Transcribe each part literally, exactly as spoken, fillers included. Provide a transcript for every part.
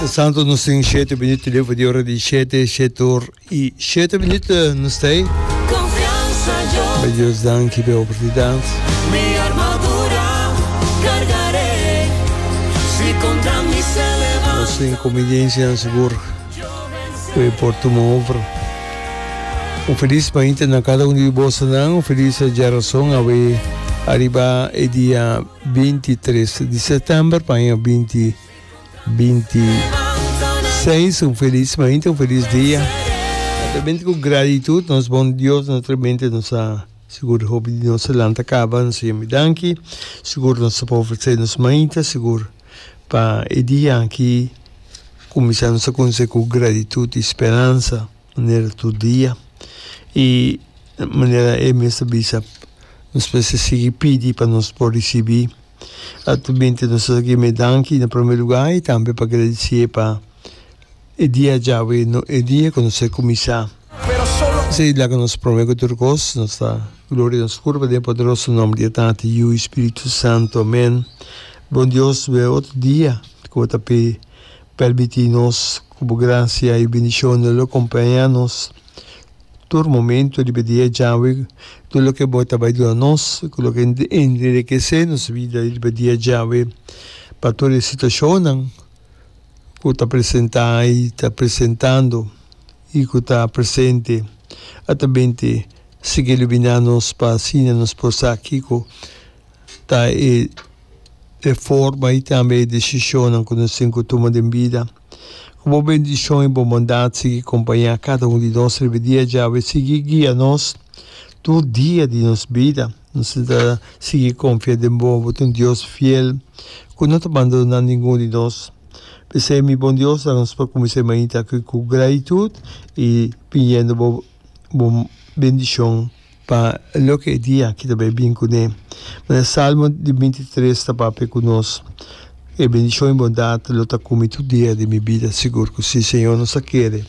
Santo nos tin shete minuut leu di ora di shete, shete or i shete minuut nos ta ei. Bay Dios danki p'e oportunidat. Nos tin convivencianan sigur ku e por tuma over. Un felis mainta na kada un di bosonan, un felis djarason awe ariba e dia binti tres di sèptèmber pa aña binti Binti seis, un felis mainta, un felis dia. Naturalmente cu gratitud nos bon Dios, naturalmente nos a sigur hopi di nos a lanta caba, nos a yami danki, sigur nos ta por ofrece nos mainta, sigur pa e dia aki cuminsa nos a cuminsa cu gratitud y speransa manera tur dia y manera e mes ta bisa nos mester sigui pidi pa nos por ricibi. Actualmente nos ta gime danki na prome lugar y tambe pa gradicié pa e dia djawe, no e dia cu nos a cuminsa. Esey laga nos prome cu tur cos, nos ta gloria nos curpa den e poderoso nomber di e Tata, Yu y Spiritu Santo. Amen. Bon Dios, bo e otro dia cu bo ta pe permiti nos cu bo gracia y bendicionnan lo acompaña nos. Tur momento riba e dia djawe, tur loke bo ta bai duna nos, ku loke enrekesé nos bida riba e dia djawe, pa tur e situashonnan ku ta presentá i ta presentando i ku ta presente, a ta binte sigui iluminá nos pa asina nos por sa kiko ta e e forma i tambe e desishonnan ku nos tin ku tuma den bida. Ku bo bendishon i bo bondat sigui kompañá kada un di nos riba e dia djawe. Sigui guia nos tur dia di nos bida. Nos ta sigui konfia den bo. Bo ta un Dios fiel ku no ta bandoná ningun di nos. P'esei, mi bon Dios, laga nos por kuminsá e mainta aki ku gratitut i pidiendo bo bo bendishon. Pa loke e dia aki ta bai bin kuné. Manera Salmo di binti tres ta papia ku nos, E bendishon i bondat lo ta ku mi tur dia di mi bida. Sigur ku si, Señor, nos ta kere.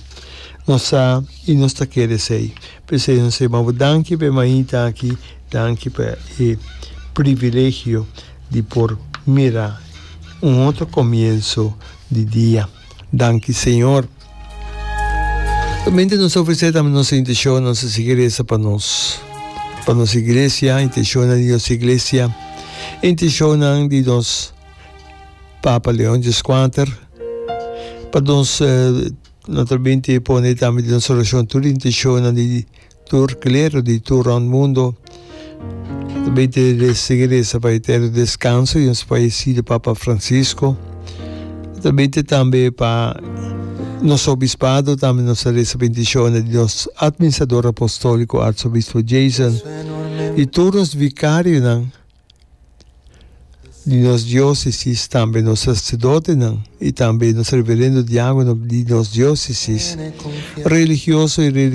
Nos sa i nos ta kere esei. P'esei nos ta yama bo danki pa e mainta aki, danki pa e privilegio di por mira un otro komienso di dia. Danki, Señor. Mente nos ta ofresé tambe nos intenshonnan, nos ta sigui resa pa nos, pa nos iglesia, intenshonnan di nos iglesia, intenshonnan di nos Papa Leon Dieskuater, pa nos naturalmente pone tambe den nos orashon tur intenshonnan di Tur klero di tur rond mundo ta bay te sigui resa pa eterno descanso di nos fallecido Papa Francisco. Ta bay te tambe pa nos obispado, tambe nos ta resa bendicionnan di nos administrador apostolico Arzobispo Jason y tur nos vicarionan di nos diocesis, tambe nos sacerdotenan y tambe nos reverendo diacono di nos diocesis, religioso y.